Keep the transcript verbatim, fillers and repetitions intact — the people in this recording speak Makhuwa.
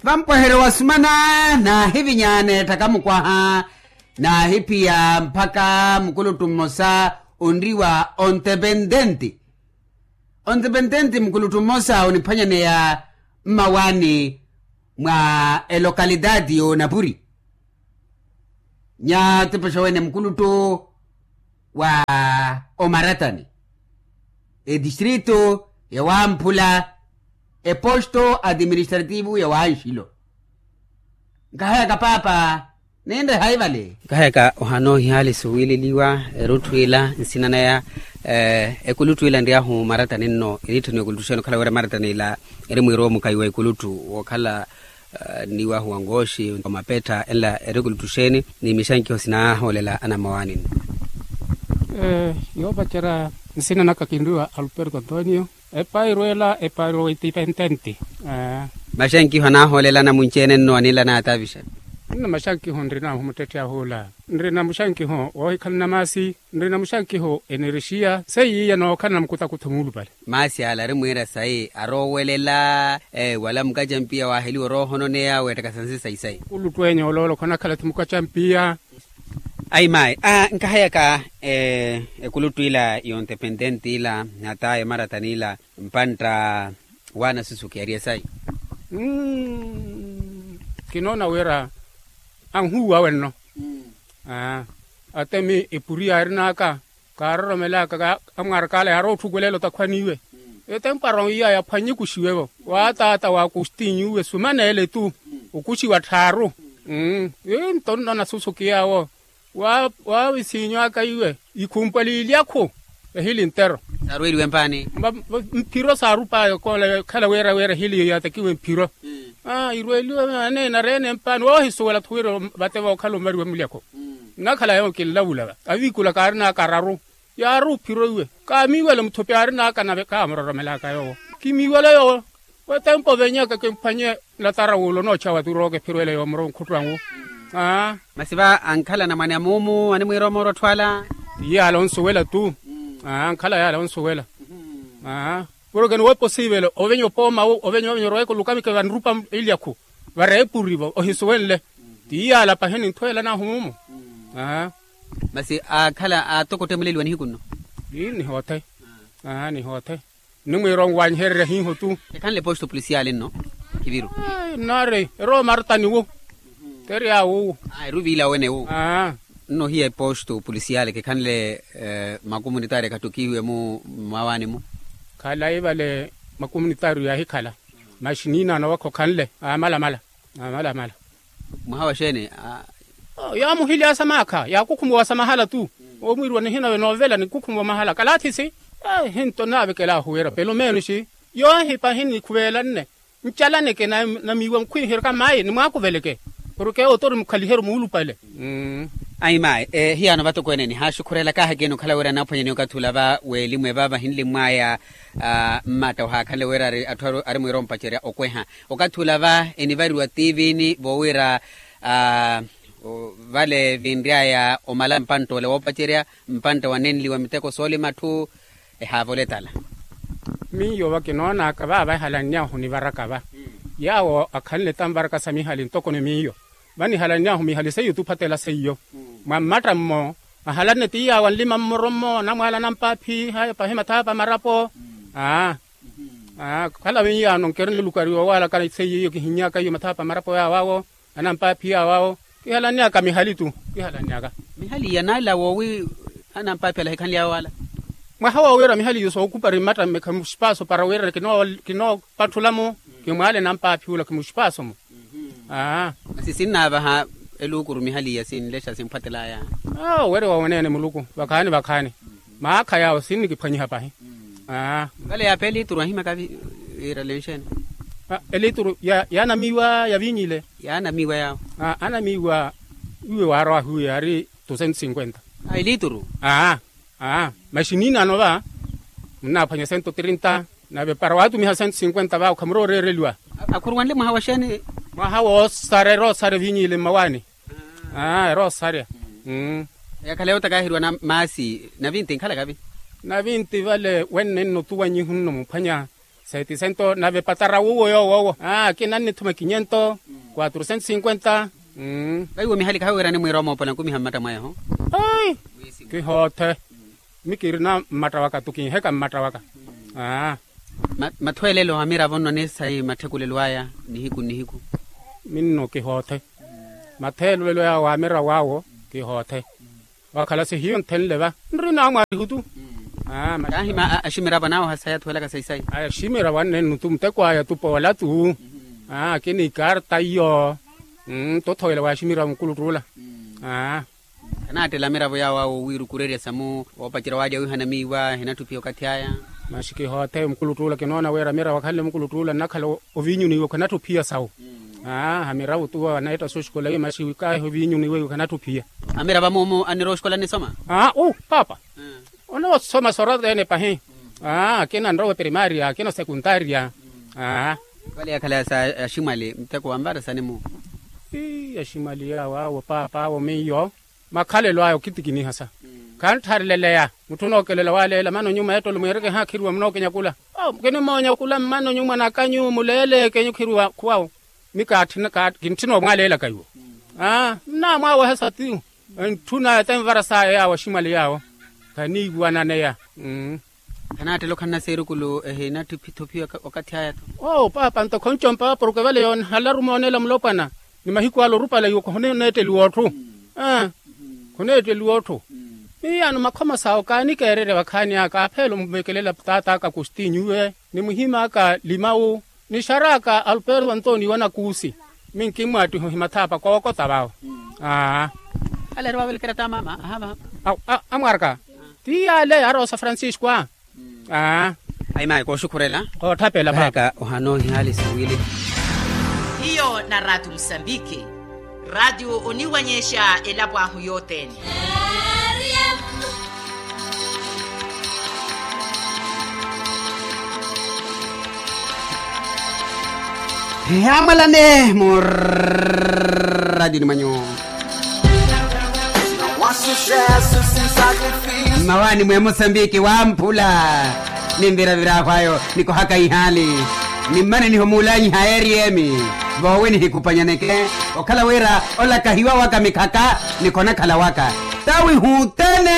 Vampwehero wa sumana, naahivinya neetthaka mukwaha, naahiphiya mpakha mukuluttu mmosa onriwa ontepententi. Ontepententi mukuluttu mmosa oniphwanyaneya mmawaani mwa elokalitati y'onapuri. Nyatepesha wene mukuluttu wa omaratani, etistrito ya wamphula, eposto administrativo ya wanxilo. Nkahayaka paapa, ninre haivale. Nkahayaka ohana ohihaali suwiileliwa erutthu ila nsina naya. Ekuluttu ila nriyaahu maratani nno eniitthaniwa ekuluttu xeeni okhala wira maratani ila eri mwiirowa mukaiwa ekuluttu wookhala nniwahu wa nkooxi omapettha enla eri ekuluttu xeeni ni mixankiho sinahoolela anammawaani nno. Yoopacerya nsina naka kinriwa alberto antonio. Epairo ela epairo wa intipententi. Maxenkiho anaahoolelana munci-ene nno anila naatavixa. Nno maxenkiho nrina humuttetthe ahula nrina muxenkiho woohikhalana maasi nrina muxenkiho enerexiya seiya nookhalana mukutakutho muulupale. Maasi ala ari mwiira sayi aroowelela wala mukacampiya waaheliwa oroohononeya weettakasa nsi sayi sayi. Kuluttu enya oloola okhonakhala ti mukacampiya. Ayi mayi. Nkahayaka ekuluttu ila yontepententi ila hata yomaratani ila mpantta waana susuki ari esayi. Kinoona wira anhuuwa wenno. Atemi epuri yaarin'aka kaaroromel'aka amwaaraka ala yaarootthukulela otakhwaniwe. Etempo aroiya yaphwannye ekuxiwe-vo waataata wa kustinyu uwe sumaneele tu. Okuxiwa tthaaru. Ii nto nno nasusuki yaawo waawisinyu aka iwe ikhumpwa liilyakhu. Ehili ntero saarweeliwe mpaani. Mphiro saarup'aya koola khala wira wira ehili yaatakiwe mphiro. Irweeliwe aneena ari-ene mpaani woohisuwela-tho wira vate vookhala omariwa mulyakho. Nnakhala yoowo kinlavula va aviikula kaarin'aka araru. Yaari ophiro iwe kaamiiwele muthopi aarin'aka nave kaamuroromel'aka yoowo. Kimiiwele yoowo. Wetempo oveny'aka kimphwanye latara wuulo onoocha wati orooka ephiro ele yoomuro onkhuttu anwu. Masi va ankhala anamwane a muumu animwiira omoorwa otthu ala. Ti yaala onsuwela tu. Ankhala yaala onsuwela. Porke ni wepo siivelo ovenya opooma wu ovenya ovenya oroweke olukamike vanrupa ilyakhu vareepurivo ohisuwenle. Ti yaala pahi ninthweela nahu muumu. Masi aakhala aatokottemuleliwa nihiku nno. Ii nihoothe. Nihoothe. Nnimwiira onwanyihererya hiiho tu. Ekhanle posto polisiali nno. Khiviru. Nnaari eroomartani wu. Teri awo wu. Eruviila wene wu. Nno hiya eposto polisiali kikhanle makumunitaari ekhattukihiwe mu mmawaani mu. Khalayi vale makumunitaari yaahikhala. Maxi niinaano vakho khanle amalamala. Amalamala. Mwaha wa xeeni? Yaamuhilyaasa maakha yaakukhumuwasa mahala tu. Omwiiriwa nihina ve noovela nikukhumuwa mahala kalathisi. Ehinto naavekelaahu wira pelo meenoxi. Yoohipa hinikhuvelanne. Ncalaneke namiiwa nkhwiihirika mayi nimwaakuveleke. Porke oto ori mukhaliheru muulupale. Ayi mayi. Hiyano vatokweene nihaaxukhurelaka ahakeeni okhala wira anaaphwanyaniwa okathi ula va weelimu evaava hinlimwaya. Mmatta ohaakhanle wira atthu ari mwiira ompacerya okweha okathi ula va enivariwa tiivini voowira vale vinry'aya omala mpantta ole woopacerya mpantta wanenliwa miteko soolima atthu. Ehaavola etala. Miyo vakinoonaka vaava ehalanny'ahu nivaraka va yaawo akhanle tanvaraka sa mihali ntoko ni miyo. Vanihalanny'ahu mihali seiyo tuphatela seiyo mwa mmatta mmo. Ahalanne ti yaawo anlima mmoro mmo anamwaala anampaaphi haya pahi mathaapa marapo. Aa khala vinyaano nkeri nlulukari wowaalaka seiyo iyo kihinny'aka iyo mathaapa marapo yaawo awo anampaaphi yaawo awo. Kihalanny'aka mihali tu. Kihalanny'aka mihali iya naala woowi anampaaphi ala hikhanly'awe waala. Mwaha woowiira mihali iyo sookupari mmatta mmekha muxipaaso para wira kinoopatthula-mo. Kimwaale nampaaphi ula kimuxipaaso-mo. Aa masi sinnaavaha eluukuru mihali iya sinlexa simphwatel'aya. Aa owerewa weneene muluku vakhaani vakhaani. Maakha yaawo sinnikiphwanyiha pahi. Aa vale yaape eliituru ahimaka. Wiira lenxeene eliituru yaanamiiwa ya viinyi ile. Yaanamiiwa yaawo. Anamiiwa iwe waarowaahu iwe yaari tu cento cinquenta. Eliituru. Aa maxi niinaano va munnaaphwanya cento trinta. Nave para waatumiha cento cinquenta va okhamuro oreereliwa. Akhuruwanle mwaha wa xeeni? Mwaha woosarya eroosarya viinyi ile mmawaani. Eroosarya. Yakhala yootakaaheriwa na maasi navinti nkhalaka vi? Navinti vale wenne nno tuwannyihu nno muphwanya. Seti sento nave patara wuwo yoowo owo. Akina nnithuma kinyento, quatro centos cinquenta. Vaiwo mihali kahawiirani mwiira omoopola nkumiha mmatta mwayaho. Kihoothe. Mmi kirina mmatta waka tu kinheka mmatta waka. Mathweelelo a miravo nno ni sayi matthekulelo aya nihiku nnihiku. Minno kihoothe. Matheelelo yawo a miravo awo kihoothe. Wakhala si hiyo nthenle va nrina amwaarihu tu. Kaahima aximiravo anawoha sayi athuwelaka sayi sayi. Aximiravo annennu tu muteko aya tu poola tu. Akina ikarta iyo. Nto othowela wa aximiravo mukuluttuula. Khanaattela amiravo yawo awo wiirukurerya samu woopacerya waalya wiihana miiwa hinatthu phiya okathi aya. Masi kihoothe mukuluttuula kinoona wira amiravo akhanle mukuluttuula nnakhala oviinyuni iwe khanatthu phiya sawu. Aa hamiravo tu waneetta soxikola iwe masi wikaahi oviinyuni iwe khanatthu phiya. Amiravo amuumu anirowa oxikola nisoma. Aa u paapa. Onoosoma soroteene pahi. Aa akina nrowe primaria akina osekuntaria. Aa. Vale yakhala sa aximwali muteko wanvara sani mu. Ii aximwali yawo awo paapa awo miyo. Makhalelo aya okhitikiniha sa. Khantthareleleya mutthu onookelela waaleela mana onyuma ettolo mwiireke haakhiriwa munookenyakula. Kinimoonyakula mmana onyuma nakanyu muleeleekenyu khiriwa khuwawo. Mmi kaatthinaka kintthina omwaaleelaka iwo. Aa nnaamwaawehesa ti. Entthuna etenvara saya yaawo aximwali yaawo. Khaniiwananeya. Khanaattela okhanna seerukulu ehinatthi phitho phiya okathi aya tho. Oo paapa nto khoncompaka porke vale yoonhala aruma oneela mulopwana. Ni mahiku ale orupala iwo khoneetteliwa otthu. Khoneetteliwa otthu. Miyaano makhoma sawo kaanikeererya vakhaani aka aphela omuvekelela taat'aka agostinho iwe ni muhim'aka limau. Nixar'aka alberto antonio wa nakuusi. Mmi nkimmwaattiha ohimathaapa kookota vaavo. Aa. Ale ari vaavelekera t'amaama ahaava. Amwaraka. Ti yaale ari osa francisco a. Aa. Ayi mayi kooxukhurela. Kootthapela phaapa. Ohana ohihaali siwili. Hiyo na ratio musambiki. Ratio oniwanyexa elapo ahu yothene. Hihaamwalane mu radioni mwanyu. Mmawaani mwe musambiki wamphula. Ni mviravira ahu ayo nikohaka ihaali. Ni mmane niho muulanyiha eriyemi. Voowi nihikupanyaneke okhala wira olakahiwa waka mikhaka ni khonakhala waka. Tawi huutene.